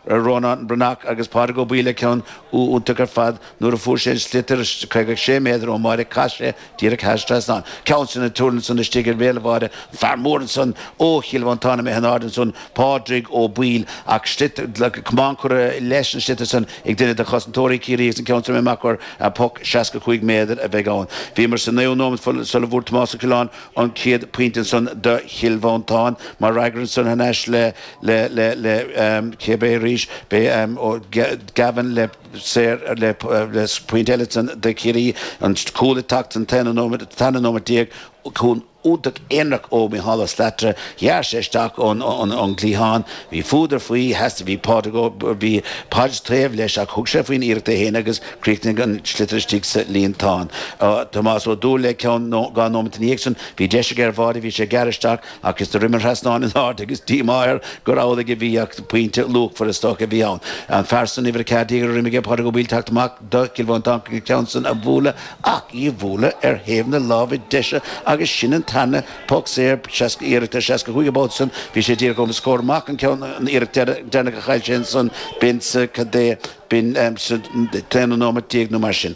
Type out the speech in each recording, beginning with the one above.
Rónán Breathnach agus Pádraig Ó Baoill le ceann iontach ar fad nuair a fuair sé an sliotar 56 méadar ón mbáide chaith sé díreach thar an trasnán. Ceann san ag tuirlingt ansan istigh ar bhéal an bháide, fear mór ansan ó Chill Mhantáin imithe in airde ansan, Pádraig Ó Baoill ach sliotar, camán curtha leis an sliotar san ag duine de chosantóirí Chiarraí agus an ceann san imithe amach gur poc 65 méadar a bheidh ann. Bhíomar sa naoú nóiméad sula bhfuair Tomás Ó Coileáin an chéad phointe ansan do Chill Mhantáin. Mar fhreagra ansan thar n-ais le le le le cé b'é arís b'é Gavin le saor le le pointe eile ansan do Chiarraí. An cúl ag teacht san t-aon nóiméad tarna nóiméad déag cúl iontach aonarach ó Mhícheál Ó Slatara. Ghearr sé isteach ón ón gcliathán. Bhí fuadar faoi, theastaigh bhí Pádraig Ó bhí Paid taobh leis ach thug sé faoin iarracht é féin agus Chríochnaigh an sliotar istigh sa líontán. Tomás Ó Dúill le ceann 2 nóiméad ina dhiaidh san. Bhí deis aige ar bháide, bhí sé ag gearradh isteach ach is do rith an trasnán in airde agus díomá air gur amhlaidh a bhí ach pointe luachmhar is dócha a bhí ann. An fear san uimhir 14 ar imigh Pádraig Ó Baoill teacht amach do Chill Mhantáin an ceann san a bhualadh ach í a bhualadh ar thaobh na láimhe deise agus sin an tarna poc saor, iarracht ar 65 an babhta san. Bhí sé díreach os comhair amach an ceann an iarracht deireanach a chaill sé ansan b'in sa cad é B'in sa t-aonú nóiméad déag nó mar sin.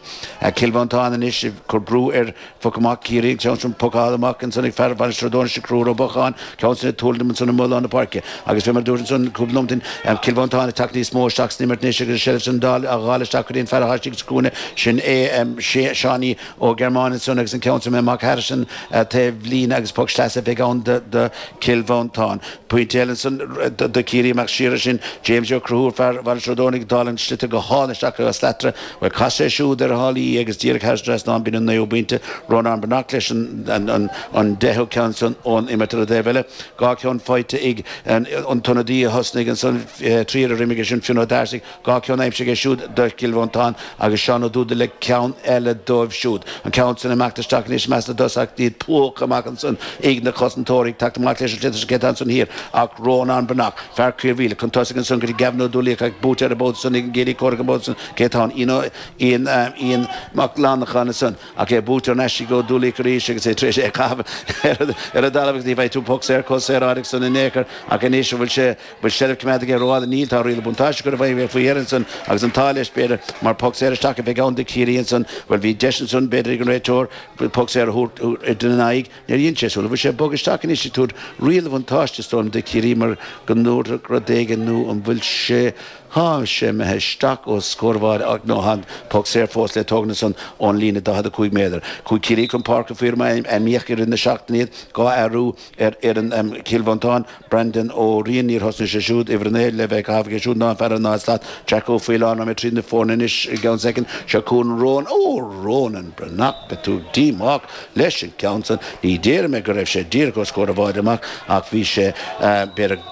Cill Mhantáin anois ag cur brú ar phoc amach Ciarraí, an ceann sin pocáilte amach ansan ag fear Mhainistir Ó Dónaill sin Conchúr Ó Bocháin, ceann sin ag tuirlingt ansan i mullán na páirce. Agus fé mar a dúirt ansan cúpla nóiméad ó shin, Cill Mhantáin ag teacht níos mó isteach san imirt anois agus an seilbh san á dháileadh isteach go dtí an fear atá istigh sa chúinne, sin é Seánie Ó Gearmáin ansan agus an ceann sin amach thairis an taobh líne agus poc sleasa a bheidh ann do Chill Mhantáin. Pointe eile ansan do Chiarraí amach siar sin James Ó Conchúir, fear Mhainistir Ó Dónaill ag dáileadh an sliotar go hálainn isteach go Slattery. Bhuel chas sé siúd ar a shálaí í agus díreach thar an trasnán b'in an naoú pointe. Rónán Breathnach leis an deichiú ceann san ón imirt ar an dtaobh eile. 2 cheann faighte ag an t-ionadaí a thosnaigh ansan triúr a d'imigh sin Fionn Ó Dearsaigh. 2 cheann aimsithe aige siúd do Chill Mhantáin agus Seán Ó Dúda le ceann eile dóibh siúd. An ceann san ag imeacht isteach anois i measc na dtosach iad plúchta amach ansan ag na cosantóirí ag teacht amach leis an sliotar cé atá ansan thiar ach Rónán Breathnach, fear Caormhíle, chun tosaigh ansan go dtí Gavin Ó Dúlaíoch ach buaite ar an bpód san ag an gCiarraí comhrac an bpód san cé atá ann Ian Ian Ian Mac Lannacháin ansan ach é buaite thar n-ais ag Ó Dúlaíoch arís agus é tar éis é a chaitheamh ar an dtalamh agus ní bheidh tú poc saor chomh saoráideach san in aon chor ach anois an bhfuil sé bhfuil seilbh coimeádta aige rófhada? Níl, tá riail buntáiste curtha i bhfeidhm aige faoi dheireadh ansan agus an t-ádh leis, b'fhéidir, mar poc saor isteach a bheidh ann do Chiarraí ansan. Bhuel, bhí deis ansan, b'fhéidir, ag an réiteoir poc saor a thabhairt ina n-aghaidh. Níor dhein sé. Sula bhfuil sé ag bogadh isteach anois ag tabhairt riail bhuntáiste, is dóigh liom, do Chiarraí mar go ndúradh rud éigin nó an bhfuil sé, tá sé imithe isteach os comhair an bháide ach nó tá an poc saor fós le tógaint ansan ón líne 45 méadar. Chuaigh Ciarraí chun páirce faoi mar a ainmníodh i rith na seachtaine iad, 2 athrú ar fhoireann Chill Mhantáin, Brandon Ó Riain, níor thosnaigh sé siúd, uimhir 9 le bheith ag caitheamh aige siúd ná an fear ar 0 slat, Jack Ó Faoláin, raghaidh mé tríd na foirne anois i gceann soicind, seo chugainn Ronan, ó Ronan Breathnach, beidh tú díomách leis an gceann san, ní déarfaidh mé go raibh sé díreach os comhair an bháide amach ach bhí sé b'fhéidir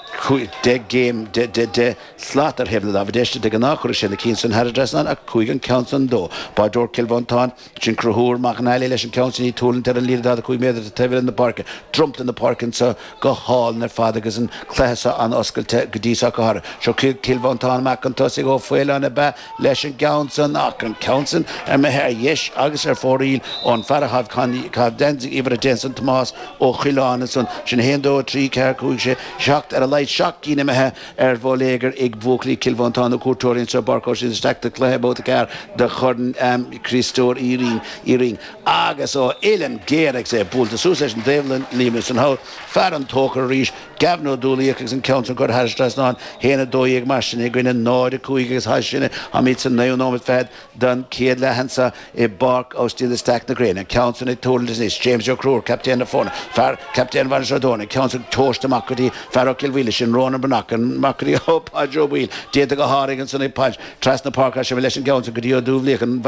10 gcéim, 10 slat ar thaobh na láimhe deise, de ghnáth chuirfeadh sé na cinn san thar an dtrasnán ach chuaigh an ceann san dó. Báideoir Chill Mhantáin. Sin Conchúr Mac an Fhailigh leis an gceann sin í tuirlingt ar an líne 45 méadar taobh eile na páirce. Dromchla na páirce anseo go hálainn ar fad agus an cluiche seo an-oscailte go dtí seo go háirithe. Seo Cill Mhantáin amach chun tosaigh Ó Faoláin ab ea leis an gceann san ach an ceann san imithe ar dheis agus ar fóraoil ón fear a chaith geansaí uimhir 10 ansan Tomás Ó Coileáin ansan. Sin 1, 2, 3, 4, 5, 6, 7 ar a laghad 7 gcinn imithe ar bhóiléagar ag buachaillí Chill Mhantáin na cuairteoirí anseo i bPáirc Oisín isteach do chluiche babhta 4 de Chorn Chriostóir Uí Rinn agus ó uillinn géar agus é buailte suas leis an dtaobhlíne san thall, fear an Tóchair arís, Gavin Ó Dúlaíoch agus an ceann san curtha thar an trasnán, 1, 12 mar sin i gcoinne 0, 5 agus thairis sin táimid sa naoú nóiméad fichead den chéad leath anseo i bPáirc Oisín i Steach na Gréine. An ceann san ag tuirlingt anois, James Ó Conchúir, captaen na foirne, fear, captaen Mhainistir Ó Dónaill, an ceann san tomhaiste amach go dtí fear ó Chill Mhaoile, sin Rónán Breathnach, amach go dtí ó Pháid Ó Baoill, déanta go háirithe ansan ag Páid, trasna páirce leis an gceann san go dtí Ó Dúbhlaíoch, an.